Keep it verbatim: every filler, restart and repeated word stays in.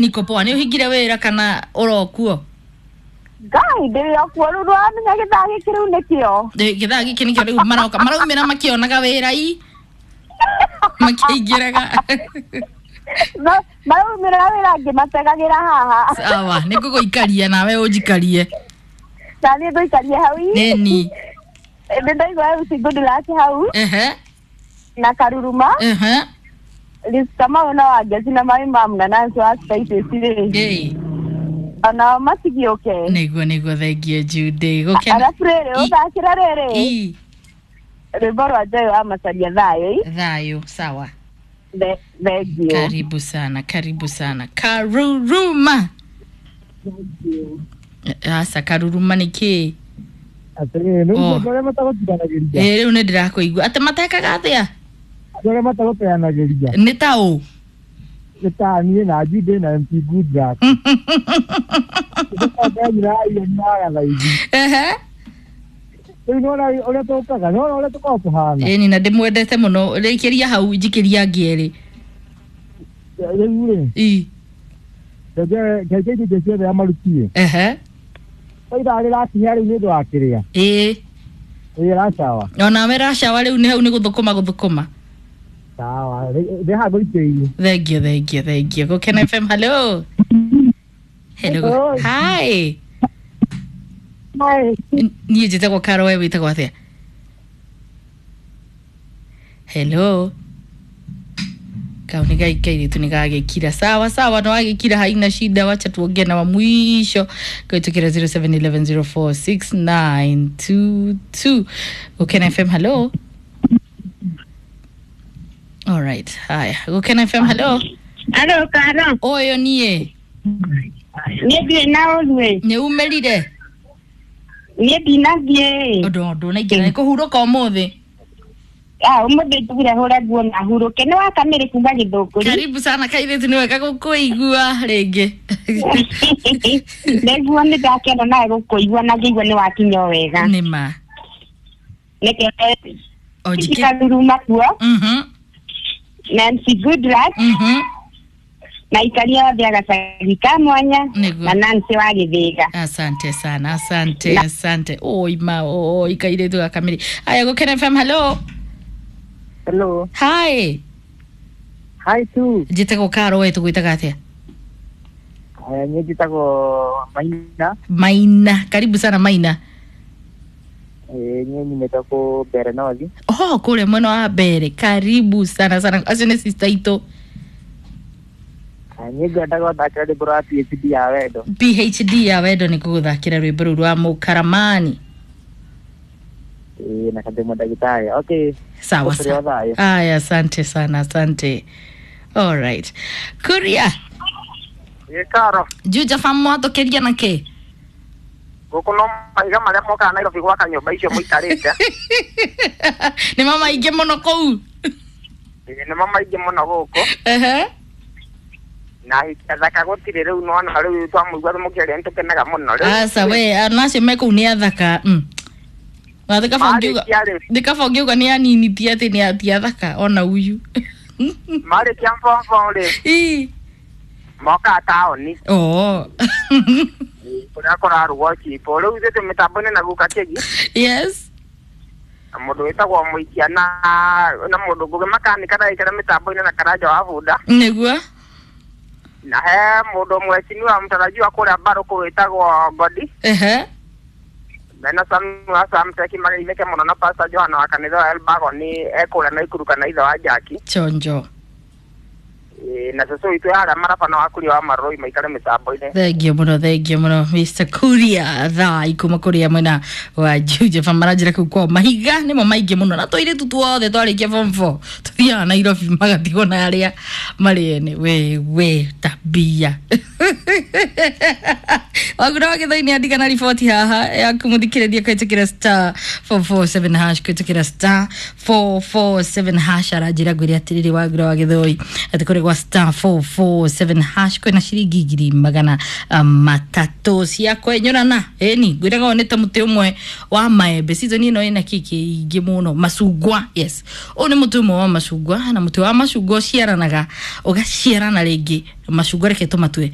Niko poa. Nĩ ũhingire wĩra kana ũrokuo? Ngai ndĩrĩ okuo rĩu ndũramenya gĩthaa gĩkĩ rĩu nĩkĩo. Ĩ, gĩthaa gĩkĩ nĩkĩo rĩu maroka maraumĩra makĩonaga wĩra i makĩingĩraga. Ma- Maraumĩra wĩra ngĩmategagĩra haha. Sawa, nĩ ngũgũikaria nawe ũnjikarie. Na niĩ ngũikarie hau i. Nĩni. Nĩ ndaigua M C Goodluck hau Ehe. na Karuruma. Ehe. Liz Kamau na Wangeci na Mami Mamu na Nancy wa Spices rĩ. Ĩ. Onao matigĩũke. Nĩguo nĩguo thengiũ Judy. Gũkena. Arabu rĩrĩ I- ũthakĩra rĩrĩ I. rwĩmbo rwa Joy wa Macharia thayũ i. Thayũ, sawa. The- Thengiũ. Karibu sana, karibu sana. Karuruma. Asa karuruma nĩ kĩĩ? Atĩrĩrĩ, rĩu Oh. andũ arĩa matagũtiganagĩria, Ĩ rĩu nĩ ndĩrakũigua. Atĩ matekaga atĩa? andũ arĩa matagũteanagĩria, Nĩ ta ũ? nĩ ta niĩ na Jude na M C Goodluck. Nĩtũkambia irio nyaga thaa ici. Ehe. Rĩu nĩwona ũrĩa tũkaga, nĩwona ũrĩa tũkoragwo tũhana. Ĩni na ndĩmwendete mũno. Rĩkĩria hau njikĩria angĩ erĩ. Rĩu rĩ, I. reke reke indo ciothe amarutie. Ehe. Ta ithaa rĩrakinya rĩu nĩ ũndũ wa kĩrĩa. Ĩ. Ĩ racawa. Onawe racawa rĩu nĩ hau nĩ gũthũkũma gũthũkũma. Sawa, ndĩ haha ngũikĩirie. Thengiũ thengiũ thengiũ. Gũkena F M, hello. Hello. Hello. Hi. Hi. Niĩ njĩtagwo Karo, we wĩtagwo atĩa? Hello. Kau nĩ gaikairĩtu nĩ gagĩkira. Sawa sawa, no wagĩkira haina shida, wacha tuongee na wa mwisho kũhĩtũkĩra zero seven eleven zero four six nine two two. Gũkena F M, hello. All right, haya. Gũkena F M, hello. Alo Karo, Ũyũ niĩ niĩ ndirĩ na ũru ĩ. nĩ umĩrire Niĩ ndinathiĩ. ũndũ ndũnaingĩra nĩ kũhurũka ũmũthĩ. Ah, ũmũthĩ njugire hũre nguo na hurũke. Nĩ wakamĩrĩ kuma Gĩthũngũri. Karibu sana kairĩtu, nĩ wega gũkũigua rĩngĩ. Nĩguo nĩ ndakena nawe gũkũigua na ngĩigua nĩ wakinya o wega. Nĩ ma. Nĩkĩo O njikĩ. Karuruma kuo Mhm. na M C Goodluck Mhm. na ikaria othe a gacagi ka mwanya Nĩguo. na Nancy wa Gĩthĩga. Asante sana, asante, asante. Oi ma, oi kairĩtu gakamĩrĩ. Aya Gũkena F M, hello. Hello. Hi. Hi tu. Njĩtagwo Karo, we tũgwĩtaga atĩa? Eh, niĩ njĩtagwo Maina. Maina. Karibu sana Maina. Eh, niĩ nyumĩte kũ Mbere North. Oh, kũrĩa mwena wa Mbere. Karibu sana sana. Acio nĩ sister itũ. Eh, niĩ ngwendaga gũthakĩra rwĩmbo rwa P H D ya wendo. P H D ya wendo nĩ gũgũthakĩra rwĩmbo rũu rwa Mũkaramani. Ĩ, na Kademo ndagĩtarĩ. Okay. Sawa Ũkũrĩ o sawa. thayũ. Aya, asante sana, asante. All right. Kuria, Ĩ Karo, Juja fam mwatũkĩria na kĩ? gũkũ no mahiga marĩa mokaga Nairobi gwaka nyũmba icio mũikarĩte. Nĩ ma maingĩ mũno kũu. Ĩ, nĩmo maingĩ mũno gũkũ. Ehe. Na ahiki athaka gũtirĩ rĩu nĩwona rĩu twamũigua mũkĩaria nĩtũkenaga mũno rĩu. Aca we, ana acio me kũu nĩ athaka. Mm. Na thĩ kaba ũngiuga Marĩkia rĩ, thĩ kaba ũngiuga nĩ anini ti atĩ nĩ ti athaka ona uyu. marĩkia form four rĩ, Ĩ. mokaga taũni Oh. kũrĩa kũrarugwo chipo. Rĩu ithuĩ twĩ mĩtambo-inĩ na guka Kĩgi Yes. na mũndũ wĩtagwo Mũikia na na mũndũ Ngũgĩ makanika ndagĩkĩra mĩtambo-inĩ na Karanja wa bunda. Nĩguo. Na he mũndũ mweciniwa mtarajiwa kũrĩa Mbarũkũ wĩtagwo Ngodi. Ehe. Mena Sam wa Samteki mageithĩke mũno na Pastor Johana wa kanitha wa Elbagon ekũrĩa Naikuru kana ithe wa Jaki. Chonjo. Ĩ, na cũcũ witũ harĩa marabana wa kuria wa Marũi maikare mĩtambo-inĩ. Thengiũ mũno, thengiũ mũno Mister Kuria thaa ikuma kũrĩa mwena wa Juja fam maranjĩra kũu kwao mahiga nĩmo maingĩ mũno na tũirĩtu tuothe twarĩkia form four tũthiaga Nairobi magatigwo na arĩa marĩ ene we we tabia. Wagura wa Gĩthũi andika na riboti haha ya kũmũthikĩrĩria kũhetũkĩra star four four seven hash, kũhetũkĩra star four four seven hash. Aranjĩra ngwĩre atĩrĩrĩ, Wagura wa Gĩthũi, atĩ kũrĩ gwa star four four seven hash kwĩna ciringi ngiri magana um, matatũ cia kwenyũrana. Ĩni ngwĩraga ũyũ nĩ ta mũtĩ ũmwe wa maembe, season ĩno ĩna kĩkĩ ingĩ mũno, macungwa. Yes, ũyũ nĩ mũtĩ ũmwe wa macungwa, na mũtĩ wa macungwa ũciaranaga, ũgaciarana rĩngĩ macungwa. Reke tũmatue.